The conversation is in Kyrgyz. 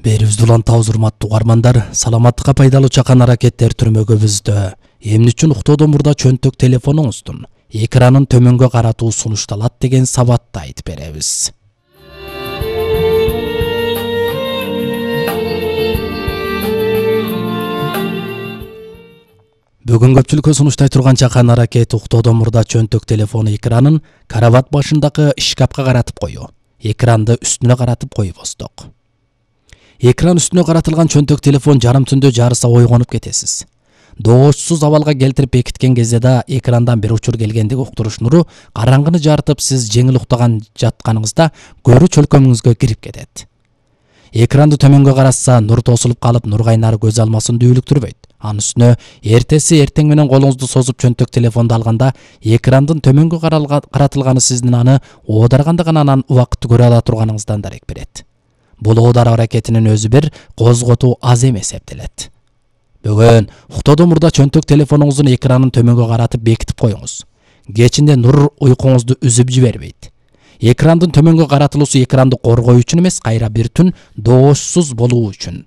Берибизди улантабыз урматтуу угармандар. Саламаттыкка пайдалуу чакан аракеттер түрмөгүбүздө. Эмне үчүн уктоодон мурда чөнтөк телефонуңуздун экранын төмөнгө каратуу сунушталат деген сабатты айтып беребиз. Бүгүн көпчүлүккө сунуштай турган чакан аракет уктоодон мурда чөнтөк телефону экранын карават башындагы шкафка каратып коюу. Экранды үстүнө каратып койбосток. Экран үстүнө каратылган чөнтөк телефон жарым түндө жарыса ойгонуп кетесиз. Доошсуз абалга келтирип бекиткен кезде да экрандан бир учур келгендиги уктуруш нуру караңгыны жарытып, сиз жеңил уктаган жатканыңызда көрүү чөлкөмүңүзгө кирип кетет. Экранды төмөнгө каратса, нур тосулуп калып, нур кайнары көз алмасын дүүлүктүрбөйт. Анын үстүнө эртеси эртең менен колуңузду созуп чөнтөк телефонду алганда, экрандын төмөнгө каратылганы сиздин аны оодарганда гана анан убакытты көрө ала турганыңыздан дарек берет. Бул оодаруу аракетинин өзү бир козготуу аз эмес эсептелет. Бүгүн уктоодон мурда чөнтөк телефонуңуздун экранын төмөнгө каратып бекитип коюңуз. Кечинде нур уйкуңузду үзүп жибербейт. Экрандын төмөнгө каратылуусу экранды коргоо үчүн эмес, кайра бир түн доошсуз болуу үчүн.